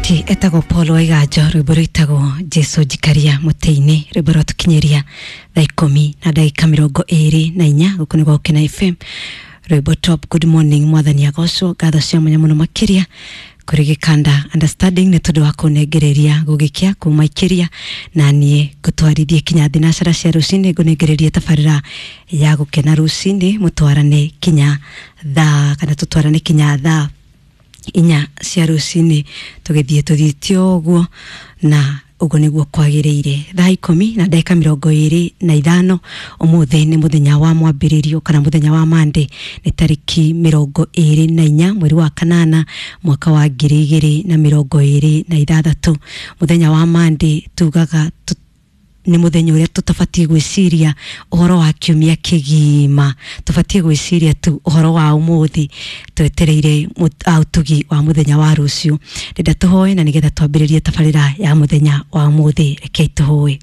Alright, etagwo Paul Waiganjo, rwĩmbo rwĩtagwo Jesu njikaria mũtĩ-inĩ, rwĩmbo rwatũkinyĩria thaa 14 na ndagĩka 24, gũkũ nĩ Gũkena FM. Rwĩmbo top. Good morning, mwathani agocwo. Ngatho cia mwanya mũno makĩria kũrĩ gĩkanda understanding nĩ tondũ wa kũnengereria gũgĩkĩa kuma ikĩria na niĩ ngũtwarithie kinya thinacara cia rũcinĩ, ngũnengererie tabarĩra ya gũkena rũcinĩ, mũtwarane kinya thaa kana tũtwarane kinya thaa 4 cia rũcinĩ, tũgĩthiĩ tũthiĩte ũguo na ũguo nĩguo kwagĩrĩire. Thaa 14 na ndagĩka 25, ũmũthĩ nĩ mũthenya wa mwambĩrĩrio kana mũthenya wa Monday, nĩ tarĩki 24 mweri wa kanana mwaka wa 2026. Mũthenya wa Monday tugaga nĩ mũthenya ũrĩa tũtabatiĩ gwĩciria ũhoro wa kiumia kĩgima, tũbatiĩ gwĩciria tu ũhoro wa ũmũthĩ, twetereire ũtugi wa mũthenya wa rũciũ. Ndĩnda tũhoe na nĩgetha twambĩrĩrie tabarĩra ya mũthenya wa ũmũthĩ. Rekei tũhoe.